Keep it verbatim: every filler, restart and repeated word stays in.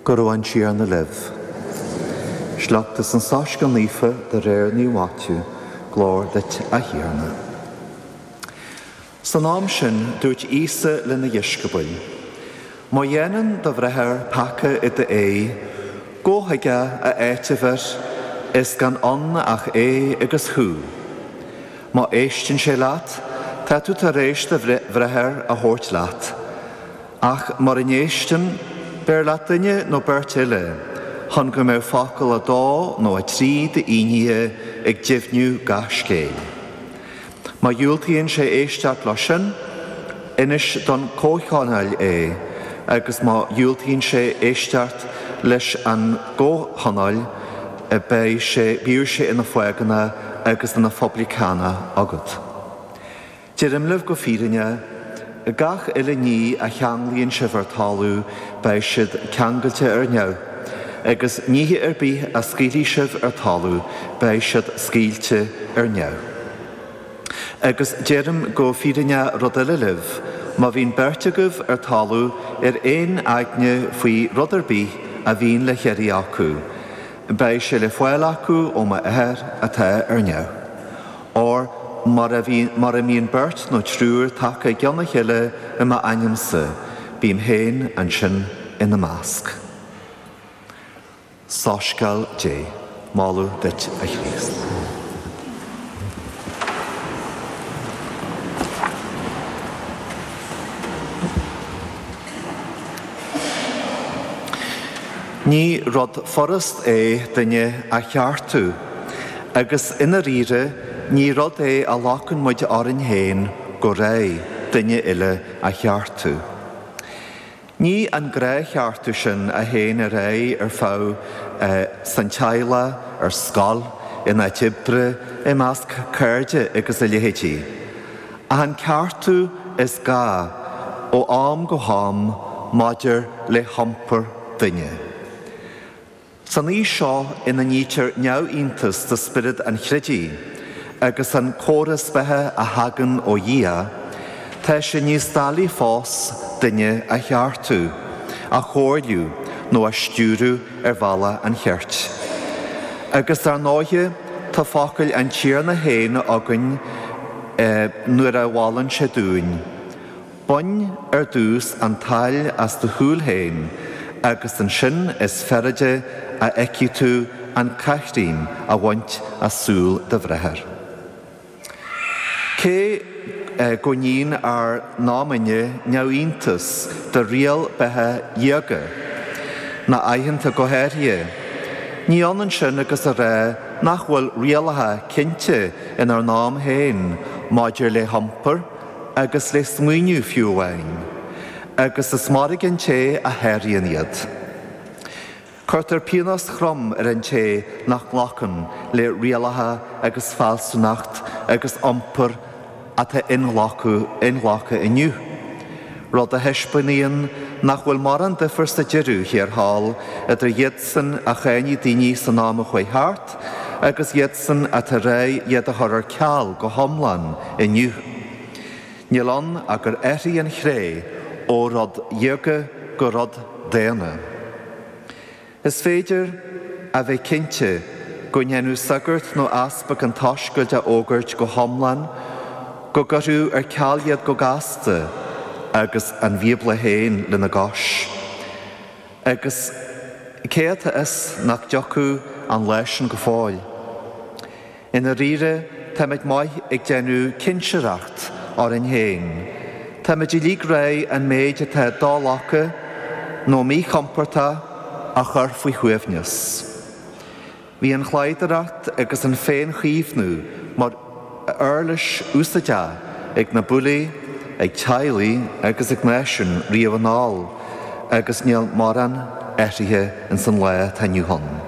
Go raibh an Tiarna libh. Sliocht as an Soiscéal Naofa de réir Naomh Maitiú, glóir duit a Thiarna. San am sin dúirt Íosa lena dheisceabail, Má dhéanann do bhráthair peaca i d'aghaidh, gabh chuige a áiteamh air, is gan ann ach é agus thú. Má éisteann sé leat, tá tú tar éis do bhráthair a thabhairt leat. Ach mura n-éisteann, beir leat duine nó beirt eile, chun go mbeidh focal a dó nó a trí d'fhínnéithe ag deimhniú gach scéil. Má dhiúltaíonn sé éisteacht leis sin, inis don comhthionól é, agus má dhiúltaíonn sé éisteacht leis an gcomhthionól, beidh sé bíodh sé ina phágánach agus ina phoibliceánach agat. Deirim libh go fírinne, gach uile ní a cheanglaíonn sibh ar talamh beidh siad ceangailte ar neamh, agus nithe ar bith a scaoilfidh sibh ar talamh beidh siad scaoilte ar neamh. Agus deirim go fírinne rud eile libh, má bhíonn beirt agaibh ar talamh ar aon aigne faoi rud ar bith a bhíonn le hiarraidh acu, beidh sé le fáil acu ó m'Athair atá ar neamh. Óir mar a bhí, mar a mbíonn beirt nó triúr tagtha i gcionn a chéile i m'ainmse, bím féin ansin ina measc. Soiscéal Dé, moladh duit a Chríost. Ní rud furast é duine a cheartú, agus i ndáiríre ní rud é a ghlacann muid orainn féin go réidh duine eile a cheartú. Ní an gnáthcheartú sin a théann ar aghaidh ar feadh eh, san teaghlach, ar scoil, in áit oibre, i measc cairde agus a leithéidí. Ach an ceartú is gá ó am go ham maidir le hiompar duine. San aois seo ina nítear neamhiontas do spiorad an chreidimh, agus an córas beatha a thagann ó Dhia, tá sé níos doiligh fós duine a cheartú, a chomhairliú nó a stiúradh ar bhealach an chirt. Agus ar ndóighe tá focail an Tiarna féin againn eh, nuair a mholann sé dúinn. Bain ar dtús an tsail as do shúil féin, agus ansin is fearrde a fheicfidh tú an caithréim a bhaint as súil do bhráthar. Cé eh, go níonn ár n-am-inne neamhiontas do riail beatha dhiaga, na aitheanta go háirithe. Ní ionann sin agus a rá nach bhfuil rialacha cinnte inár n-am féin maidir le hiompar agus le smaoineamh fiú amháin, agus is mairg an té a sháraíonn iad. Cuirtear pionós trom ar an té nach nglacann le rialacha agus fealsúnacht agus iompar atá inghlactha inghlactha inniu. Rud a thaispeánaíonn nach bhfuil mórán difear sa deireadh thiar thall idir iadsan a cháineadh daoine san am a chuaigh thart, agus iadsan atá réidh iad a chur ar ceal go hiomlán inniu. Níl ann ach gur athraigh an chré ó rud diaga go rud daonna. Is féidir a bheith cinnte go ndéanadh sagart nó easpag an tsoiscéil a fhógairt go hiomlán, go gcuirfeadh ar ceal iad go gasta agus an Bíobla féin lena gcois. Agus cé atá fhios nach dtiocfadh an lá sin go fóill. I ndáiríre táimid maith ag déanamh cinsireacht orainn féin. Táimid uilig réidh an méid atá do-ghlactha nó míchompordach a chur faoi shuaimhneas. Bhí an chladhaireacht agus an féinchaomhnú mar uirlis úsáideach ag na bullaí, ag teaghlaigh agus ag náisiúin riamh anall, agus níl mórán athraithe ins an lá atá inniu ann.